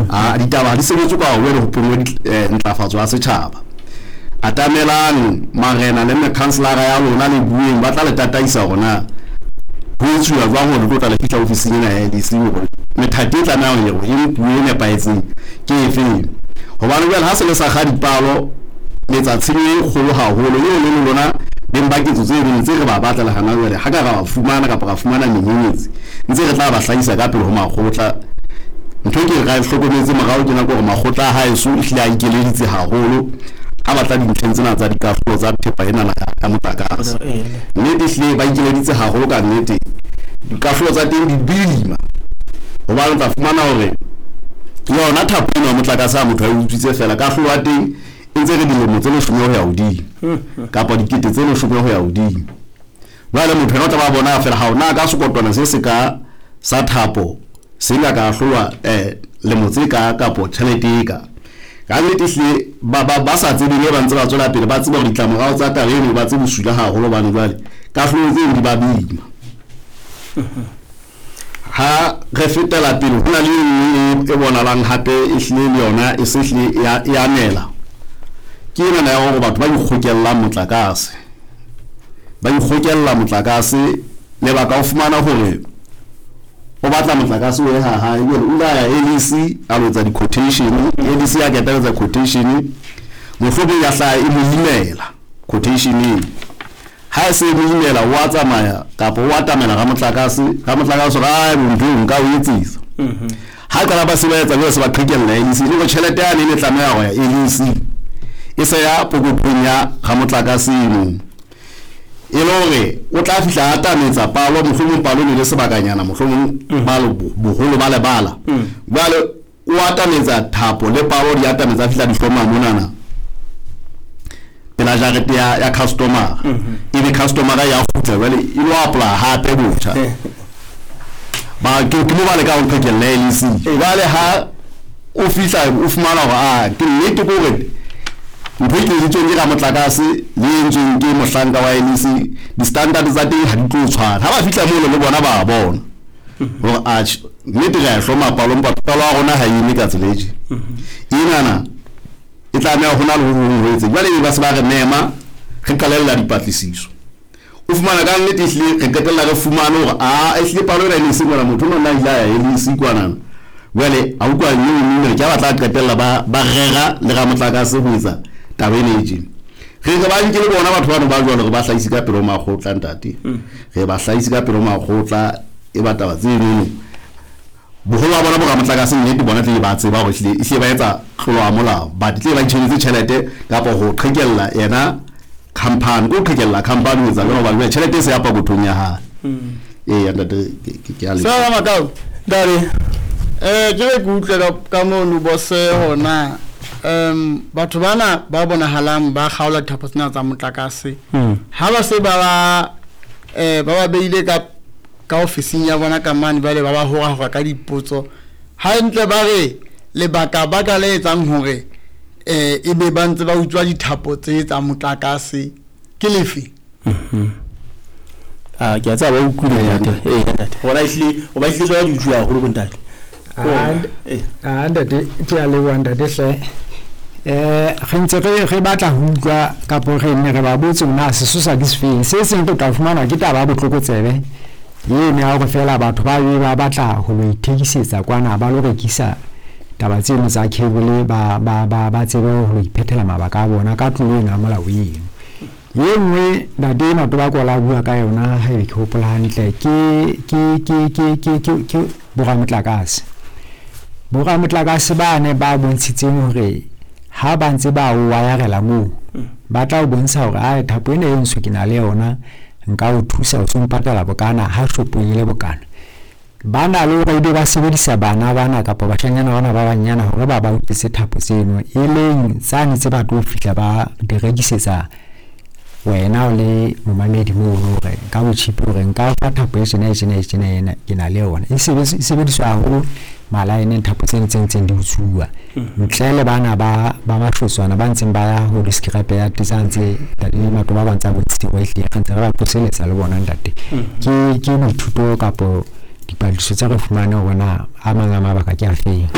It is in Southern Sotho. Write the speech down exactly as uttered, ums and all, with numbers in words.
A ditaba ha di sebetse ka hore ho pongwe ntlafatso ya setjhaba. Atamelang marena le mekhanselara ya lona le bueng, ba tla le tataisa hore na ho etsuwa jwang hore le tlo tla le fihla ofising ena ya L E C, hore methati e tlamehang hore e nkuwe e nepahetseng ke efeng. Hobane jwale ha se le sa kga dipalo, le etsa tshenyo e kgolo haholo eo le le lona beng ba ketso tse ding tse re ba batla le hana jwale, ha ka ra ba fumana kapa ra fumana menyenyetsi, ntse re tla ba hlahisa ka pele ho makgotla. Ntho e ke re hlokometse morao ke nako hore makgotla a haeso ehlile a ikeleditse haholo ha batla dintlheng tsena tsa dikahlolo tsa thepa ena ya motlakase. Nnete ehlile ba ikeleditse haholo ka nnete, dikahlolo tsa teng di boima, hobane o tla fumana hore yona thapo ena ya motlakase ha motho a e utswitse fela, kahlolo ya teng e ntse re dilemo tse leshome ho ya hodimo kapa dikete tse leshome ho ya hodimo. Jwale motho yena o tla ba bona fela ha ona ka sekotwana se se ka sa thapo se ka ka ahlolwa eh lemo tse ka kapo tjhelete e ka. Ka nnete ehlile ba ba ba sa tsebeng ba ntse ba tswela pele, ba tseba hore ditlamorao tsa taba eno ba tse bosula haholo, hobane jwale kahlolo tseo di ba boima. Ha re fetela pele, ho na le e nngwe e bonalang hape ehlile le yona e se hlile e a nela. Ke ena ya hore batho ba ikgokellang motlakase, ba ikgokella motlakase, lebaka o fumana hore o batla motlakase o ye ha hae, jwale o ile a ya L E C a lo etsa di-quotation, L E C a qeta ho etsa quotation, mohlomong ya hlaha e mo imela quotation eo. Ha e se e mo imela, o a tsamaya kapa o atamela ramotlakase, ramotlakase o re, ai, ntho eo nka o etsisa. Ha qala ba se ba etsa jwale, se ba qhekella L E C, le hore tjhelete yane e ne tlameha ho ya L E C e se ya pokothong ya ramotlakase eno. E le hore o tla fihla a atametsa palo, mohlomong palo ne le sebakanyana, mohlomong palo boholo ba lebala. Jwale o atametsa thapo le palo di atametsa fihla di hloma monana pela jarete ya, ya customer. Ebe customer ya kgutla jwale e lo apply hape botjha. Ba ke ke mo ba leka ho qhekella L E C. Jwale ha o fihla o fumana hore a ke nnete ke hore ntho e keleditsweng ke ramotlakase le e entsweng ke mohlanka wa L E C, di-standard tsa teng ha di tlo tshwana. Ha ba fihla mono le bona ba bona hore atjhe, nnete re a e hloma palo, empa palo ya rona ha e eme ka tsela e tje. Enana e tlameha ho na le ho hong ho etseng. Jwale ba se ba re mema, re qalella dipatlisiso. O fumana ka nnete ehlile re qetella re fumane hore a ehlile palo ena e ne e se kwana, motho ona a ile a ya L E C kwanana. Jwale a utlwa nnete nnete ke ha ba tla qetella ba ba rera le ramotlakase ho etsa taba ena e tjena. Re re ba nke le bona batho bano ba jwalo, re ba hlahise ka pele ho makgotla, ntate. Re ba hlahise ka pele ho makgotla, e ba taba tse enono. Boholo ba bona bo ramotlakase nnete bona tle ba tseba hore ehlile ehlile ba etsa tlolo ya molao, but tle ba itjhebetse tjhelete kapa ho qhekella yena company, ko qhekella company ho etsa jwalo, hobane tjhelete e se ya pokothong ya hae. Ee, ntate, ke ke a leboha. Sala Makau. Ntate. Eh, ke re ke utlwe ka, ka mono bose hona. Um batho bana ba bonahalang ba kgaola dithapo tsena tsa motlakase. Ha ba se ba ba, eh, ba ba beile ka, ka ofising ya bona ka mane, jwale ba ba hora-hora ka dipotso. Hantle ba re lebaka ba ka le etsang hore, eh, e be ba ntse ba utswa dithapo tse tsa motlakase ke lefe? Ah, ke a tseba ba utlwile ntate. Eh, ntate. Hona ehlile, o ba ehlile tsona di utswa haholo bo ntate. Ah, ah, ntate, ke a leboha ntate hle. Eh, re ntse re, re batla ho utlwa kapo re ne re ba botse hore na sesosa ke sefeng. Se seng re tla fumana ke taba ya botlokotsebe eno ya hore feela batho ba be ba batla ho lo ithekisetsa kwana, ba lo rekisa taba tseno tsa cable, ba, ba, ba, ba tsebe ho iphethela mabaka a bona ka tlolo ena ya molao eno. E nngwe ntate Matobakola a bua ka yona, haebe ke hopola hantle, ke, ke, ke, ke, ke, ke, ke boramotlakase. Boramotlakase ba ne ba bontshitseng hore ha ba ntse ba o wayarela moo, ba tla o bontsha hore ai thapo ena e ntsho ke na le yona, nka o thusa o so mpatala bokana ha shopong e le bokana. Ba na le hore ebe ba sebedisa bana bana kapa bashanyana bana ba banyana hore ba ba utlwise thapo tseno, e leng tsane tse ba tlo fihla ba di rekisetsa wena o le momamedi mono hore ka botjhipi hore nka fa thapo e tjena, e tjena, e tjena, ena ke na le yona. E sebediswa, e sebediswa haholo malaeneng thapo tseno tse ntseng di utsuwa. Ntle le bana ba, ba mahlotshwana ba ntseng ba ya ho di-scrap yard tsa ntse ntate Matoba ba ntse a bontshitse hore ehlile re ntse re ba qoseletsa le bona ntate. Ke, ke boithuto kapo dipatlisiso tse re fumaneng hore na a mang a mabaka ke a feng.